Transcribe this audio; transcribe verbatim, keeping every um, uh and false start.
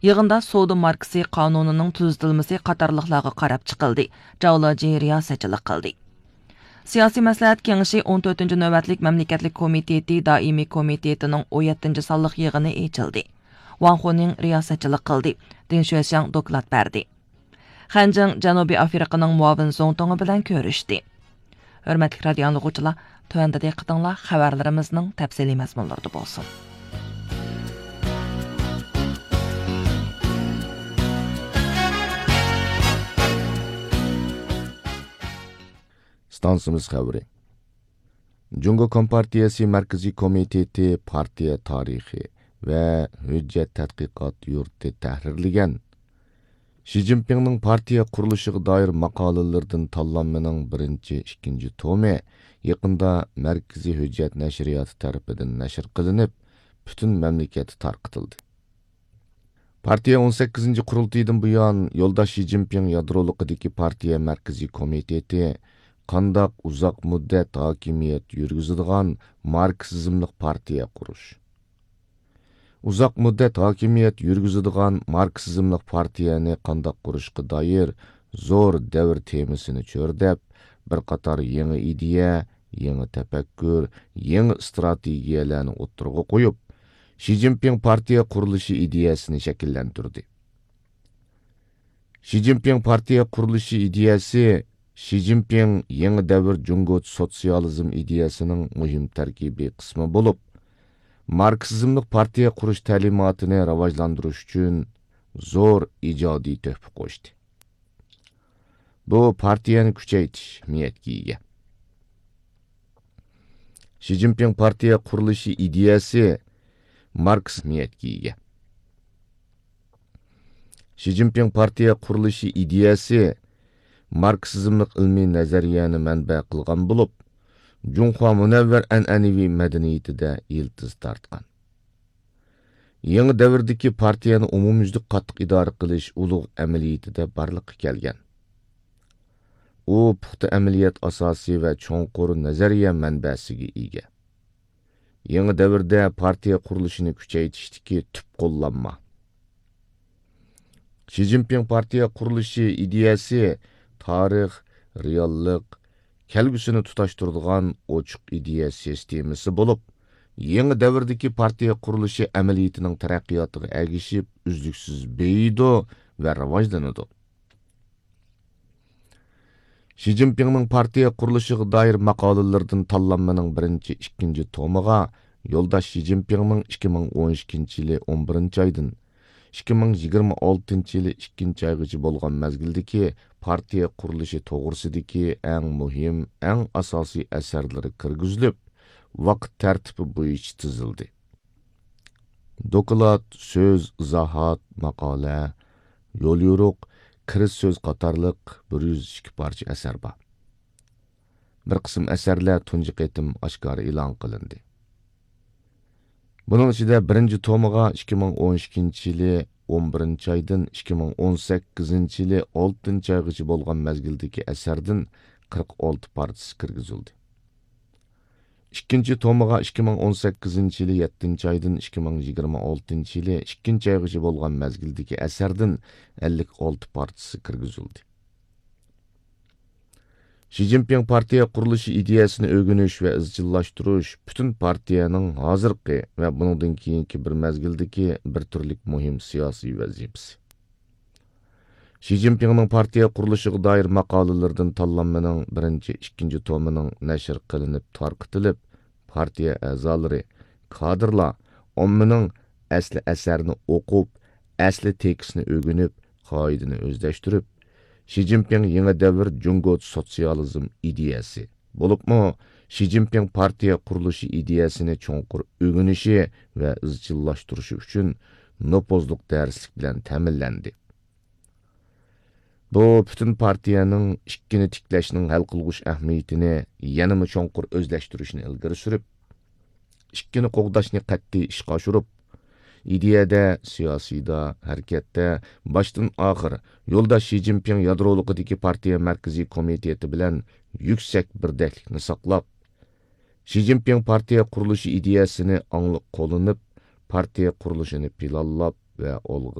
يىغىندا سودا ماركىسى قانۇنىنىڭ تۈزىتىلمىسى قاتارلىقلارغا قاراپ چىقىلدى. جاۋ لېجى رىياسەتچىلىك قىلدى. سىياسىي مەسلىھەت كېڭىشى ئون تۆتىنچى نۆۋەتلىك مەملىكەتلىك كومىتېتى دائىمىي كومىتېتىنىڭ ئون يەتتىنچى سانلىق يىغىنى ئېچىلدى. ۋاڭ خۇنىڭ رىياسەتچىلىك قىلدى. دىن شۈەشياڭ دوكلات بەردى. خەنجىڭ جەنۇبىي ئافرىقىنىڭ مۇئاۋىن زۇڭتۇڭى بىلەن كۆرۈشتى. ھۆرمەتلىك رادىيو ئاڭلىغۇچىلار، تۆۋەندە دىققىتىڭلار خەۋەرلىرىمىزنىڭ تەپسىلىي مەزمۇنلىرىدا بولسۇن. ئىستانسىمىز خەۋىرى. جۇڭگو كومپارتىيەسى مەركىزىي كومىتېتى پارتىيە تارىخى ۋە ھۆججەت تەتقىقات يۇرتى تەھرىرلىگەن شى جىنپىڭنىڭ پارتىيە قۇرۇلۇشىغا دائىر ماقالىلىرىدىن تاللانمىنىڭ بىرىنچى، ئىككىنچى تومى يېقىندا مەركىزىي ھۆججەت نەشرىياتى تەرىپىدىن نەشر قىلىنىپ، پۈتۈن مەملىكەتتە تارقىتىلدى. پارتىيە ئون سەككىزىنچى قۇرۇلتىيىدىن بۇيان، يولداش شى جىنپىڭ يادرولۇقىدىكى پارتىيە مەركىزىي كومىتېتى قانداق ئۇزاق مۇددەت ھاكىمىيەت يۈرگۈزىدىغان ماركسىزملىق پارتىيە قۇرۇش، ئۇزاق مۇددەت ھاكىمىيەت يۈرگۈزىدىغان ماركسىزملىق پارتىيەنى قانداق قۇرۇشقا دائىر زور دەۋر تېمىسىنى چۆرىدەپ، بىر قاتار يېڭى ئىدىيە، يېڭى تەپەككۇر، يېڭى ئىستراتېگىيەلەرنى ئوتتۇرىغا قويۇپ، شى جىنپىڭ پارتىيە قۇرۇلۇشى ئىدىيەسىنى شەكىللەندۈردى. شى جىنپىڭ پارتىيە قۇرۇلۇشى ئىدىيەسى شى جىنپىڭ يېڭى دەۋر جۇڭگو سوتسىيالىزم ئىدىيەسىنىڭ مۇھىم تەركىبىي قىسمى بولۇپ، ماركسىزملىق پارتىيە قۇرۇش تەلىماتىنى راۋاجلاندۇرۇش ئۈچۈن زور ئىجادىي تۆھپە قوشتى. بۇ پارتىيەنى كۈچەيتىش ئەھمىيەتكە ئىگە. شى جىنپىڭ پارتىيە قۇرۇلۇشى ئىدىيەسى ماركس ئەھمىيەتكە ئىگە. شى جىنپىڭ پارتىيە قۇرۇلۇشى ئىدىيەسى ماركسىزملىق ئىلمىي نەزەرىيەنى مەنبە قىلغان بولۇپ، جۇڭخۇا مۇنەۋۋەر ئەنئەنىۋى مەدەنىيىتىدە يىلتىز تارتقان. يېڭى دەۋردىكى پارتىيەنى ئومۇميۈزلۈك قاتتىق ئىدارە قىلىش ئۇلۇغ ئەمەلىيىتىدە بارلىققا كەلگەن. ئۇ پۇختا ئەمەلىيەت ئاساسى ۋە چوڭقۇر نەزەرىيە مەنبەسىگە ئىگە. يېڭى دەۋردە پارتىيە قۇرۇلۇشىنى كۈچەيتىشتىكى تۈپ قوللانما. شى جىنپىڭ پارتىيە قۇرۇلۇشى ئىدىيەسى تارىخ، رېئاللىق، كەلگۈسىنى تۇتاشتۇرىدىغان ئوچۇق ئىدىيە سىستېمىسى بولۇپ، يېڭى دەۋردىكى پارتىيە قۇرۇلۇشى ئەمەلىيىتىنىڭ تەرەققىياتىغا ئەگىشىپ ئۈزلۈكسىز بېيىيدۇ ۋە راۋاجلىنىدۇ. شى جىنپىڭنىڭ پارتىيە قۇرۇلۇشىغا دائىر ماقالىلىرىدىن تاللانمىنىڭ بىرىنچى، ئىككىنچى تومىغا يولداش شى جىنپىڭنىڭ ئىككى مىڭ ئون ئىككىنچى يىلى ئون بىرىنچى ئايدىن ئىككى مىڭ يىگىرمە ئالتىنچى يىلى ئىككىنچى ئايغىچە بولغان مەزگىلدىكى پارتىيە قۇرۇلۇشى توغرىسىدىكى ئەڭ مۇھىم، ئەڭ ئاساسىي ئەسەرلىرى كىرگۈزۈلۈپ، ۋاقىت تەرتىپى بويىچە تىزىلدى. دوكلات، سۆز، ئىزاھات، ماقالە، يوليورۇق، كىرىز سۆز قاتارلىق بىر يۈز ئىككى پارچە ئەسەر بار. بىر قىسىم ئەسەرلەر تۇنجى قېتىم ئاشكارا ئېلان قىلىندى. بۇنىڭ ئىچىدە بىرىنچى تومىغا ئىككى مىڭ ئون ئىككىنچى يىلى ئون بىرىنچى ئايدىن ئىككى مىڭ ئون سەككىزىنچى يىلى ئالتىنچى ئايغىچە بولغان مەزگىلدىكى ئەسەردىن قىرىق ئالتە پارچىسى كىرگۈزۈلدى. ئىككىنچى تومىغا ئىككى مىڭ ئون سەككىزىنچى يىلى يەتتىنچى ئايدىن ئىككى مىڭ يىگىرمە ئالتىنچى يىلى ئىككىنچى ئايغىچە بولغان مەزگىلدىكى ئەسەردىن ئەللىك ئالتە پارچىسى كىرگۈزۈلدى. شى جىنپىڭ پارتىيە قۇرۇلۇشى ئىدىيەسىنى ئۆگىنىش ۋە ئىزچىللاشتۇرۇش پۈتۈن پارتىيەنىڭ ھازىرقى ۋە بۇنىڭدىن كېيىنكى بىر مەزگىلدىكى بىر تۈرلۈك مۇھىم سىياسىي ۋەزىپىسى. شى جىنپىڭنىڭ پارتىيە قۇرۇلۇشىغا دائىر ماقالىلىرىدىن تاللانمىنىڭ بىرىنچى، ئىككىنچى تومىنىڭ نەشر قىلىنىپ تارقىتىلىپ، پارتىيە ئەزالىرى، كادىرلار ئاممىنىڭ ئەسلى ئەسەرنى ئوقۇپ، ئەسلى تېكىستنى ئۆگىنىپ، قائىدىنى ئۆزلەشتۈرۈپ، شى جىنپىڭ يېڭى دەۋر جۇڭگو سوتسىيالىزم ئىدىيەسى، بولۇپمۇ شى جىنپىڭ پارتىيە قۇرۇلۇشى ئىدىيەسىنى چوڭقۇر ئۆگىنىشى ۋە ئىزچىللاشتۇرۇشى ئۈچۈن نوپۇزلۇق دەرسلىك بىلەن تەمىنلەندى. بۇ پۈتۈن پارتىيەنىڭ ئىككىنى تىكلەشنىڭ ھەل قىلغۇچ ئەھمىيىتىنى يەنىمۇ چوڭقۇر ئۆزلەشتۈرۈشنى ئىلگىرى سۈرۈپ، ئىككىنى قوغداشنى قەتئىي ئىشقا ئاشۇرۇپ، ئىدىيەدە، سىياسىيدا، ھەرىكەتتە باشتىن ئاخىر يولداش شى جىنپىڭ يادرولۇقىدىكى پارتىيە مەركىزىي كومىتېتى بىلەن يۈكسەك بىردەكلىكنى ساقلاپ، شى جىنپىڭ پارتىيە قۇرۇلۇشى ئىدىيەسىنى ئاڭلىق قوللىنىپ، پارتىيە قۇرۇلۇشىنى پىلانلاپ ۋە ئالغا